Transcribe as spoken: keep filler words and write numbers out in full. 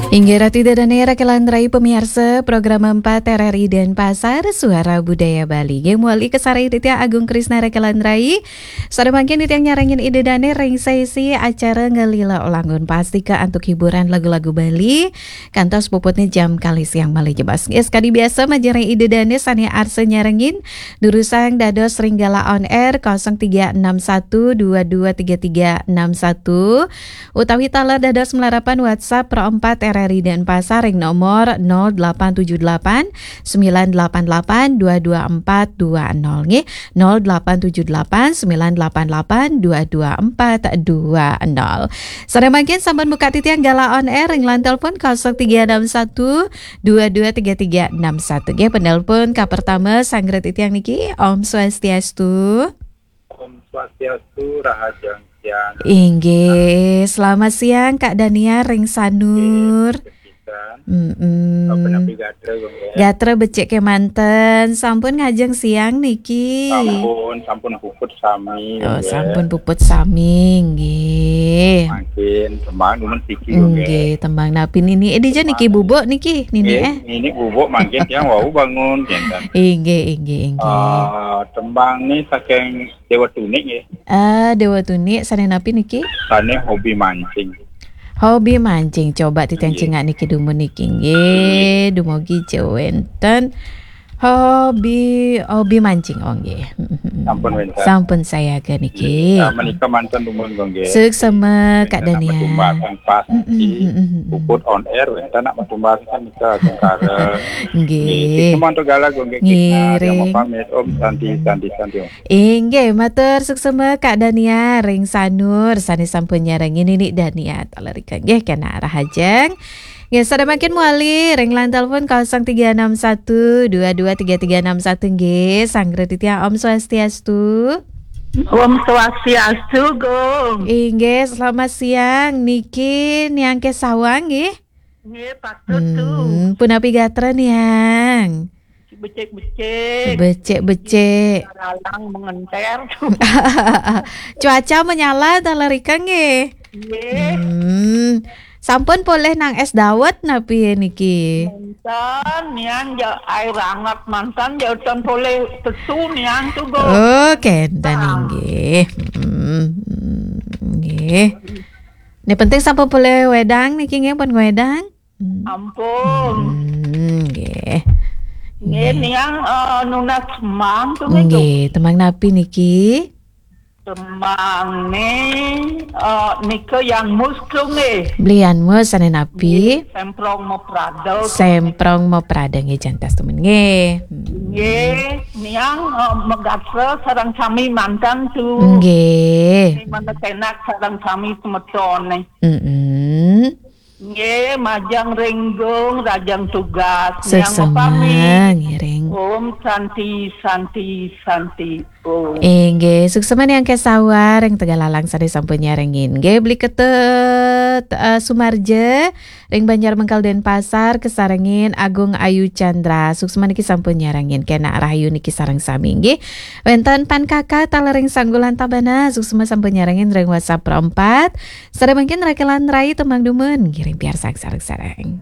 Inggih ratu ida dané raka lan rai pamiarsa program empat R R I Denpasar, Suara Budaya Bali. Nggih, muali kasarengin titiang Agung Krisna raka lan rai. Sada mangkin titiang nyarengin ida dané ring sesi acara Ngelila Ulangun, pastika antuk hiburan lagu-lagu Bali. Kantos puputnya jam kalih siang malih jebos. Nggih, sakadi biasa majeng ring ida dané sané arsa nyarengin, durusang dados ring galah on air kosong tiga enam satu dua dua tiga tiga enam satu. Utawi taler dados malarapan WhatsApp Pro empat R R I Denpasar ring nomor nol delapan tujuh delapan sembilan delapan delapan dua dua empat dua nol, nggih. Nol delapan tujuh delapan sembilan delapan delapan dua dua empat dua nol. Sada mangkin sampun buka titiang galah on air ring line telepon kosong tiga enam satu dua dua tiga tiga enam satu. Nggih, penelpon kapertama sanggra titiang niki. Om Swastiastu. Om Swastiastu, rahajeng siang. Inggih, selamat siang Kak Daniar ring Sanur. Nggih, pisan. Mm-mm. Apa napi gatra, Gung, ya? Gatra becik kémanten, sampun ngajeng siang niki. Sampun, sampun puput sami, Oh, Gung, ya. Sampun puput sami, nggih. Mangkin tembang dumun siki, Gung, ya. Nggih, tembang napi nini? Eh, dija niki Tembang. Bubuk niki, nini, Nggih, eh? Nini bubuk mangkin tiang wau bangun, kinten. Inggih, inggih, inggih. Ah, tembang ni saking Dewa Tuni, nggih. Ah, Dewa Tuni, sané napi niki? Sané hobi mancing. Hobi mancing. Coba titiang Nggih. Cingak niki dumun niki, nggih. Dumugi ja wénten. Hobi, hobi mancing, oh, nggih. Sampun wénten. Sampun sayaga niki. Nggih, menika manten dumun, Gung, nggih. Suksma, Kak Wénten nak Daniar. Matumbasan pas Mm-mm, niki. Mm-mm, mm-mm. Puput on air, wénten nak matumbasan nika, Gung, kareng. Nggih. Nggih, suksma mantuk galah, Gung, nggih. Nggih, Kita, yang ring. Mau pamit, Om Santi, Santi, Santi, Om. Inggih, matur suksma Kak Dania ring Sanur sané sampun nyarengin nini Dania taler rika. Nggih, kénak rahajeng. Nggih, sada mangkin muali ring line telepon kosong tiga enam satu dua dua tiga tiga enam satu, nggih. Sanggra titiang Om Swastiastu. Om Swastiastu, Gung. Inggih, selamat siang. Niki Niang Kesawang, nggih. Nggih, patut tu. Hmm, punapi gatra, Niang? Becik-becik. Becik-becik. Lalang mengenter. Cuaca menyala taler rika, nggih. Nggih. Hmm. Sampun polih nang es dawet napi niki? Manten, Niang, ja air anget manten, ja utan polih tetu, Niang, tu, Gung. Oh, kénten. Ah. Inggih. Hmm, nggih. Ni penting sampun polih wédang niki, nggih, pun wédang. Hmm. Ampun. Hmm, nggih. Nggih, nggih. Niang, eh, nunas tembang tu, nggih, nggih, tembang napi niki? Tembang ni, eh, nika Yan Mus tu, nggih. Beli Yan Mus, sané napi? Nggih, Semprong Maprada tu. Semprong Maprada, nggih, jantos dumun, nggih. Hmm. Nggih, Niang, eh, magatra sareng sami manten tu. Nggih. Mangda kénak sareng sami semetoné. Mm-mm. Nggih, majeng ring Gung, rahajeng tugas. Niang suksma, mapamit. Ngiring. Om Santi, Santi, Santi, Om. Inggih, suksma Niang Kesawang ring Tegalalang sané sampun nyarengin. Nggih, Beli Ketut, eh, Sumarja ring Banjar Mengkal Denpasar, kasarengin Agung Ayu Chandra. Suksma niki sampun nyarengin. Kénak rahayu niki sareng sami, nggih. Wénten Pan Kaka taler ring Sanggulan Tabanan. Suksma sampun nyarengin ring WhatsApp Pro empat. Sada mangkin raka lan rai tembang dumun. Ngiring piarsang sareng-sareng.